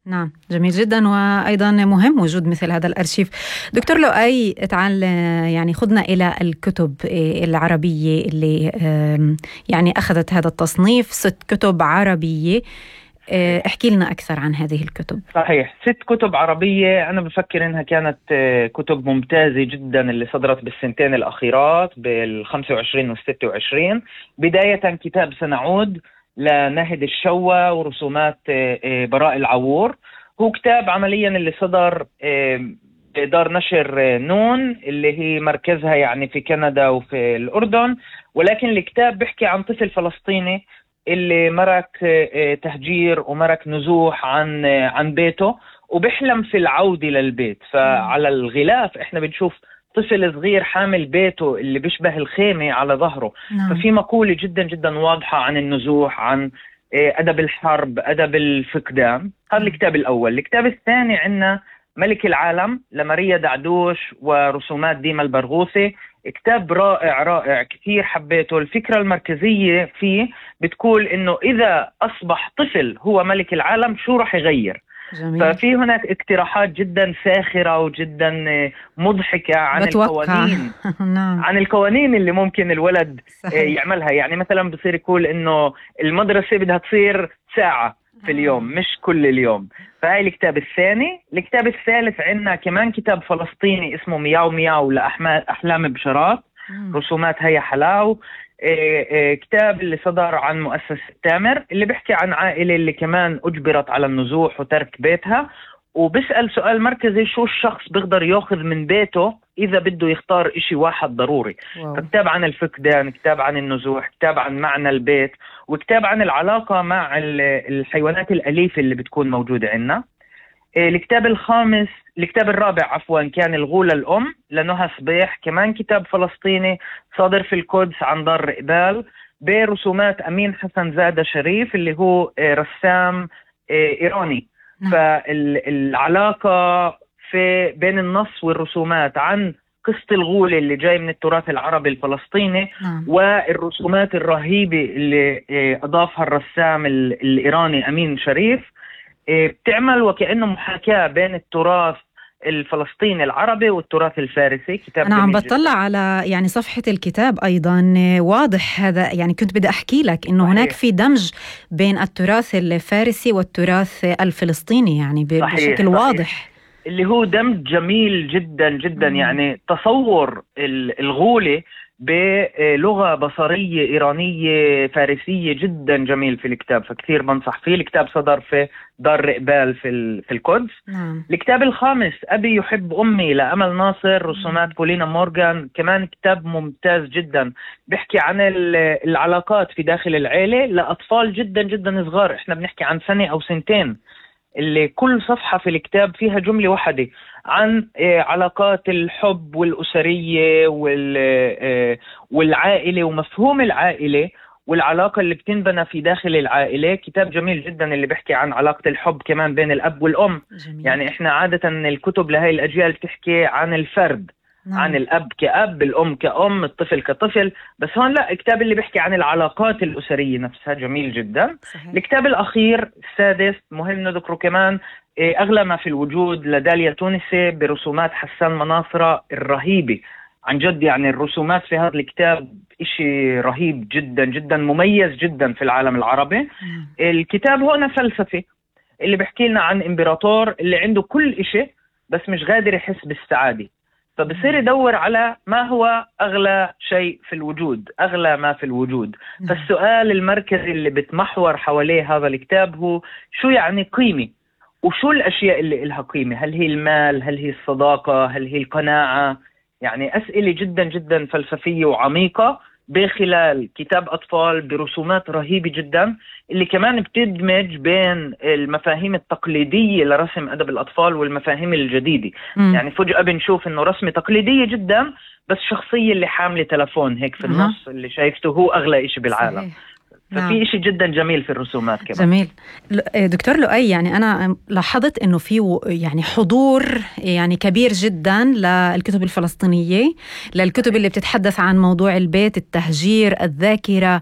نعم، جميل جدا، وأيضا مهم وجود مثل هذا الأرشيف. دكتور لؤي، تعال يعني خذنا إلى الكتب العربية اللي يعني أخذت هذا التصنيف، 6 كتب عربية. احكي لنا أكثر عن هذه الكتب. صحيح، 6 كتب عربية. أنا بفكر إنها كانت كتب ممتازة جدا اللي صدرت بالسنتين الأخيرات بال25 وال26. بداية كتاب سنعود لناهد الشوى ورسومات براء العوور. هو كتاب عمليا اللي صدر دار نشر نون اللي هي مركزها يعني في كندا وفي الأردن، ولكن الكتاب بيحكي عن طفل فلسطيني اللي مرك تهجير ومرك نزوح عن بيته وبيحلم في العودة للبيت. فعلى الغلاف احنا بنشوف طفل صغير حامل بيته اللي بيشبه الخيمة على ظهره. ففي مقولة جدا جدا واضحة عن النزوح، عن أدب الحرب، أدب الفقدان. هذا الكتاب الأول. الكتاب الثاني عندنا ملك العالم لماريا دعدوش ورسومات ديما البرغوثي. كتاب رائع رائع، كثير حبيته. الفكرة المركزية فيه بتقول إنه إذا أصبح طفل هو ملك العالم شو رح يغير. جميل. ففي هناك اقتراحات جدا ساخرة وجدا مضحكة عن القوانين نعم. عن القوانين اللي ممكن الولد يعملها. يعني مثلا بصير يقول إنه المدرسة بدها تصير ساعة في اليوم مش كل اليوم. فهاي الكتاب الثاني. الكتاب الثالث عندنا كمان كتاب فلسطيني اسمه مياو مياو لأحلام بشارات، رسومات هيا حلاو. كتاب اللي صدر عن مؤسسة تامر اللي بيحكي عن عائلة اللي كمان أجبرت على النزوح وترك بيتها، وبسأل سؤال مركزي: شو الشخص بيقدر يأخذ من بيته إذا بده يختار إشي واحد ضروري. فكتاب عن الفقدان، كتاب عن النزوح، كتاب عن معنى البيت، وكتاب عن العلاقة مع الحيوانات الأليفة اللي بتكون موجودة عنا. الكتاب الرابع عفوا كان الغولة الأم لنهى صبيح، كمان كتاب فلسطيني صادر في القدس عن دار إقبال برسومات أمين حسن زادة شريف اللي هو رسام إيراني. فالعلاقة بين النص والرسومات عن قصة الغولة اللي جاي من التراث العربي الفلسطيني والرسومات الرهيبة اللي أضافها الرسام الإيراني أمين شريف بتعمل وكأنه محاكاة بين التراث الفلسطيني العربي والتراث الفارسي. كتاب أنا عم بطلع على يعني صفحة الكتاب أيضا، واضح هذا. يعني كنت بدي أحكي لك إنه هناك في دمج بين التراث الفارسي والتراث الفلسطيني يعني بشكل واضح، اللي هو دمج جميل جدا جدا. يعني تصور الغولة بلغة بصرية إيرانية فارسية جدا جميل في الكتاب، فكثير بنصح فيه. الكتاب صدر في دار إقبال في القدس. الكتاب الخامس أبي يحب أمي لأمل ناصر، رسومات بولينا مورغان، كمان كتاب ممتاز جدا بيحكي عن العلاقات في داخل العيلة لأطفال جدا جدا صغار. احنا بنحكي عن 1 أو 2 سنين، اللي كل صفحة في الكتاب فيها جملة واحدة عن علاقات الحب والأسرية والعائلة ومفهوم العائلة والعلاقة اللي بتنبنى في داخل العائلة. كتاب جميل جدا اللي بيحكي عن علاقة الحب كمان بين الأب والأم. جميل. يعني إحنا عادة الكتب لهاي الأجيال بتحكي عن الفرد، عن الأب كأب، الأم كأم، الطفل كطفل، بس هون لا، الكتاب اللي بيحكي عن العلاقات الأسرية نفسها جميل جدا. صحيح. الكتاب الأخير السادس مهم نذكره كمان، أغلى ما في الوجود لداليا تونسي برسومات حسان مناصرة الرهيبة عن جد. يعني الرسومات في هذا الكتاب إشي رهيب جدا جدا، مميز جدا في العالم العربي. الكتاب هنا فلسفي اللي بيحكي لنا عن إمبراطور اللي عنده كل إشي بس مش قادر يحس بالسعادة، فبصير يدور على ما هو أغلى شيء في الوجود، أغلى ما في الوجود. فالسؤال المركزي اللي بتمحور حواليه هذا الكتاب هو شو يعني قيمة، وشو الأشياء اللي إلها قيمة؟ هل هي المال؟ هل هي الصداقة؟ هل هي القناعة؟ يعني أسئلة جدا جدا فلسفية وعميقة بخلال كتاب أطفال برسومات رهيبة جدا، اللي كمان بتدمج بين المفاهيم التقليدية لرسم أدب الأطفال والمفاهيم الجديدة. يعني فجأة بنشوف إنه رسمة تقليدية جدا بس شخصية اللي حاملة تلفون هيك في النص اللي شايفته هو أغلى إشي بالعالم. صحيح. ففي إشي جدا جميل في الرسومات كمان. جميل. دكتور لؤي، يعني أنا لاحظت إنه في يعني حضور يعني كبير جدا للكتب الفلسطينية، للكتب اللي بتتحدث عن موضوع البيت، التهجير، الذاكرة.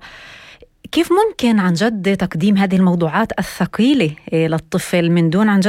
كيف ممكن عن جد تقديم هذه الموضوعات الثقيلة للطفل من دون عن جد